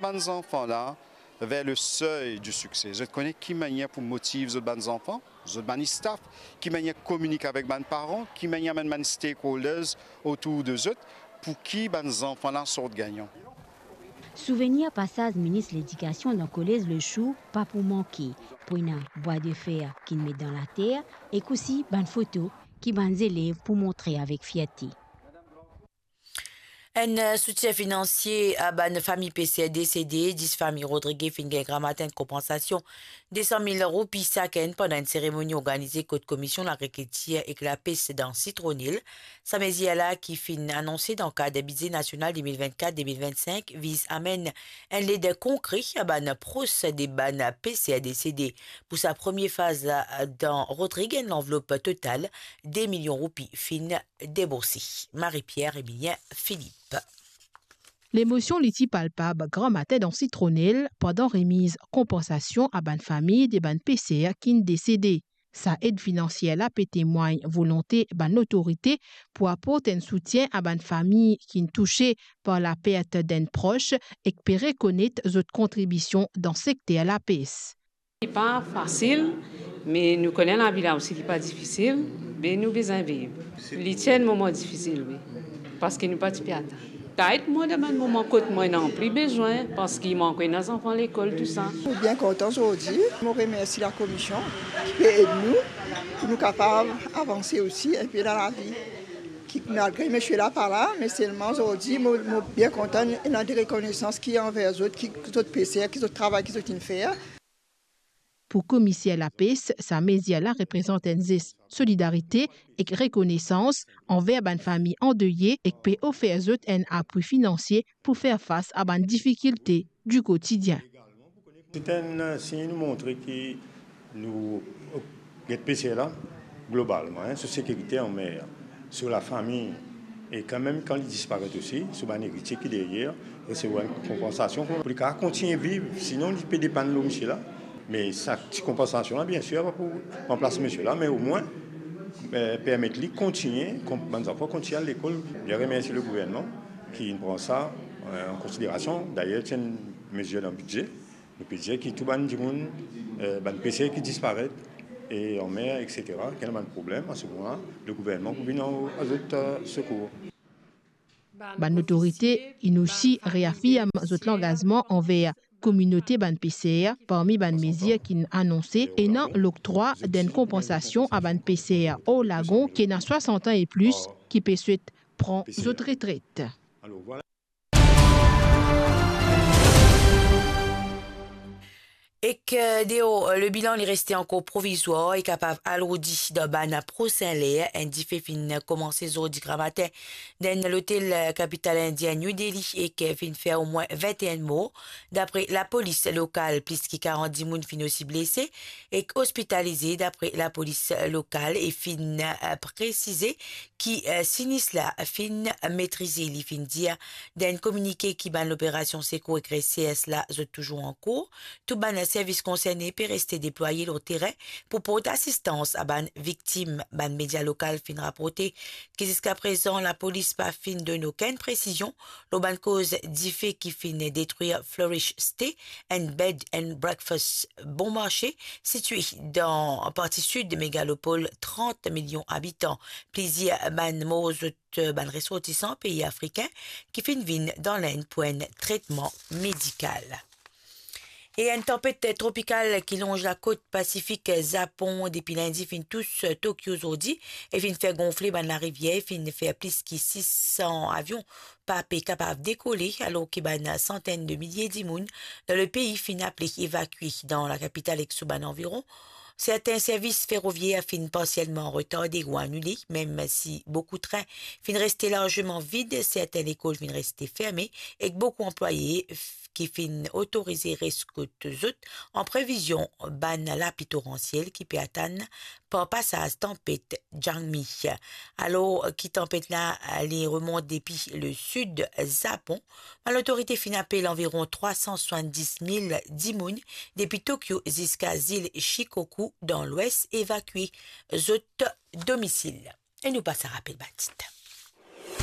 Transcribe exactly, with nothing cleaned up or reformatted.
Bann zanfan la, vers le seuil du succès. Zot kone ki manier pou motiv zot bann zanfan, zot bann staff, ki manier kominike avek bann paran, ki manier amenn bann stakeholders otour de zot, pou ki bann zanfan la sort gagnan. Souvenir pasaz minis ledikasion dan kolez Le Chou pa pou manke. Pou ena bwa de fer ki'nn met dan later, ek osi bann foto ki bann zelev pou montre avek fierte. Enn, eh, soutien finansie a bann fami peser desede. Dis fami Rodrige finn gagn gramatin enn konpansasion de san mil roupi sakenn pandan enn seremoni organize kot Komision Lagrikiltir ek Lapes dan Sitronil. Sa mezir la ki finn anonse dan kad bize nasional de mil vennkat de mil vennsink viz amenn enn led konkre a bann pros de bann peser desede. Pou sa premie faz la, dan Rodrige, enn lanvlop total de milion roupi finn deborse. Marie-Pierre Emilien Philippe. Lemosion li ti palpab gramatin dan Sitronil pandan remiz konpansasion a bann fami de bann peser ki'nn desede. Sa ed finansie la pe temwagn volonte bann lotorite pou aport enn soutien a bann fami ki'nn touse par lapert d'enn pros ek pe rekonet zot kontribision dan sekter lapes. Li pa fasil, me nou kone lavi la osi li pa difisil, be nou bizin viv. Li ti enn moman difisil, wi, parski nou pa ti pe atann. Tayt mwa dan bann moman kot mwa ena pli bizin, parski mwa ankor ena zanfan lekol, tousa. Mo bien kontan zordi. Mo remersi lakomision ki pe ed nou, pou nou kapav avanse osi enpe dan lavi. Ki, malgre misie la pa la, me selman zordi, mo, mo bien kontan, ena de rekonesans ki anver zot, ki zot peser, ki zot travay ki zot inn fer. Pou komiser lapes, sa mezir la reprezant enn zes solidarite ek rekonesans anver bann fami andeye ek pe ofer zot enn apwi finansie pou fer fas a bann difikilte di kotidien. Se enn sign nou montre ki nou get peser la, globalman, hein, so sekirite anmer, so lafami, e kanmem kan li disparet osi, so bann eritie ki deryer resevwar enn konpansasion pou li kapav kontigne viv, sinon li pe depann lor misie la. Me sa ti konpansasion la, biensir, pa pou ranplas misie la, me omwin, eh, permet li kontigne, kon-, bann zanfan kontigne al lekol. Bien remersie le gouvernman ki pran sa, eh, an konsiderasion. Dayer, ti enn mezir dan bidze. Nou pe dir ki tou bann dimoun, eh, bann peser ki disparet, e anmer, et cetera, ki ena bann problem, a se moman, le gouvernman pou vinn a, a zot, eh, sekour. Bann lotorite inn osi reafirm zot langazman anver kominote bann peser, parmi bann mezir ki'nn anonse, ena loktrwa d'enn konpansasion a bann peser or lagon ki ena swasant an e plis ki pe swet pran zot retret. Ek, eh, deor, eh, le bilan li reste ankor provizwar e kapav alourdi dan bann prosin ler. Enn dife finn komanse zordi gramatin dan enn lotel, eh, kapital indien New Delhi ek, eh, finn fer omwin vinte-enn mor. Dapre lapolis lokal, plis ki karant dimoun finn osi blese ek ospitalize, dapre lapolis lokal, e finn, eh, presize ki, eh, sinis la finn metrize. Li finn dir dan enn kominike ki bann loperasion sekour ek resers la zot touzour ankour. Tou bann servis konserne pe reste deplwaye lor terin pou port asistans a bann viktim. Bann media lokal finn raporte ki ziska prezan lapolis pa finn donn okenn presizion lor bann koz dife ki finn detrir Flourish Stay, enn bed and breakfast bon marse, sitie dan parti sid megalopol trant milion abitan. Plizier bann mor zot bann resortisan pei afrikin ki finn vinn dan Lenn pou enn tretman medikal. E enn tanpet tropikal ki lonz lakot Pasifik Zapon depi lindi finn tous Tokyo zordi e finn fer gonfle bann larivier, finn fer plis ki sis san avion pa pe kapav dekole, alor ki bann santenn de milie dimoun dan lepei finn aple evakye dan lakapital ek so bann anviron. Sertin servis ferovier finn parsielman retarde ou anile, mem si boukou trin finn reste larzeman vid, sertin lekol finn reste ferme ek boukou anplwaye f-, ki finn otorize res kot zot an previzion bann lapli toransiel ki pe atann par pasaz tanpet Jangmi. Alor ki tanpet la, li remont depi le sid Zapon, bann lotorite finn apel anviron trwa san swasann-dis mil dimoun depi Tokyo ziska zil Shikoku dan lwes evakye zot domisil. E nou pas a rapel bann tit.